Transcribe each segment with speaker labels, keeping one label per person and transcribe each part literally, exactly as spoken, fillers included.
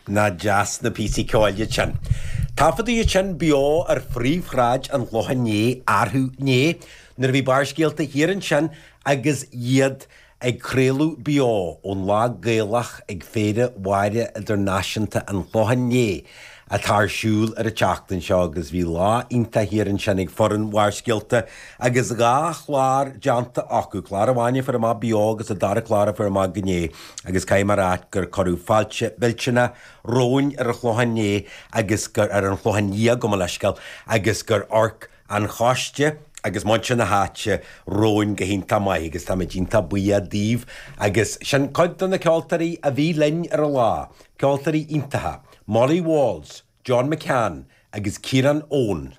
Speaker 1: Nach deas na píosaí ceoil iad sin. Taifeadadh iad sin beo ar phríomhshráid an Chlocháin Léith arú inné nuair a bhí Barrscéalta thiar ansin agus iad ag craoladh beo ón Lá Gaelach ag Féile Mháire Idirnáisiúnta an Chlocháin Léith atá ar siúl ar an tseachtain seo agus bhí lá iontach thiar ansin ag foireann Bharrscéalta agus dhá chlár déanta acu, clár amháin a fuair amach beo agus an dara clár a fuair amach inné agus caithfidh mé a rá gur cuireadh fáilte mhillteanach romhainn ar an Chlochán Liath agus gur ar an Chlochán Liath gabh mo leithscéal agus gur amharc an choiste agus muintir na háite romhainn go hiontach maith agus táimid iontach buíoch díobh agus sin cuid de na ceoltóirí a bhí linn ar an lá, ceoltóirí iontacha, Molly Walls, John McCann agus Ciarán Owen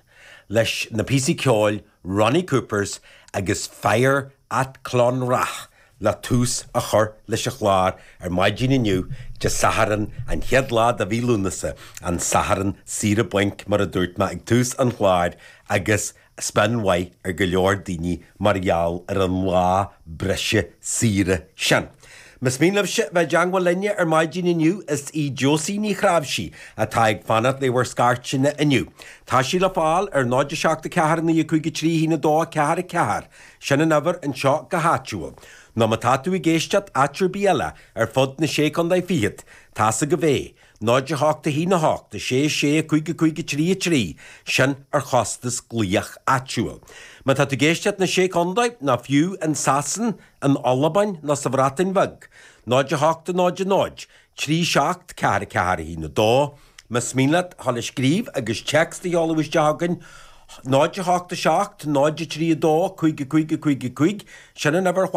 Speaker 1: leis na píosaí ceoil Ronnie Coopers agus Fire at Clonrath le tús a chur leis an chlár ar maidin inniu Dé Sathairn an chéad lá de mhí Lúnasa an Satharn saoire bainc mar a dúirt mé ag tús an chláir agus spion mhaith ar go leor daoine mar gheall ar an lá breise saoire sin. Más mian libhse bheith i dteagmháil linne ar maidin inniu is í Josie Ní Chráimhsí atá ag fanacht le bhur scairteanna inniu. Tá sí le fáil ar náid seacht a ceathair naoi cúig trí haon a dó ceathair a ceathair, sin an uimhir anseo go háitiúil. Nó má tá tú ag éisteacht áit ar bith eile ar fud na sé chontae fichead, tá's agaibh é, náid a hocht a haon a hocht, a sé sé cúig cúig trí a trí, sin ar chostas glaoch áitiúil. Má tá tú ag éisteacht na sé chontae nó fiú in Sasain, in Albain nó sa Bhreatain Bheag, náid a hocht a náid a náid, trí seacht ceathair ceathair a haon a dó, Más mian leat a scríobh agus téacs a sheoladh isteach chugainn, náid a hocht a seacht, náid a trí a dó, cúig cúig cúig cúig, sin an uimhir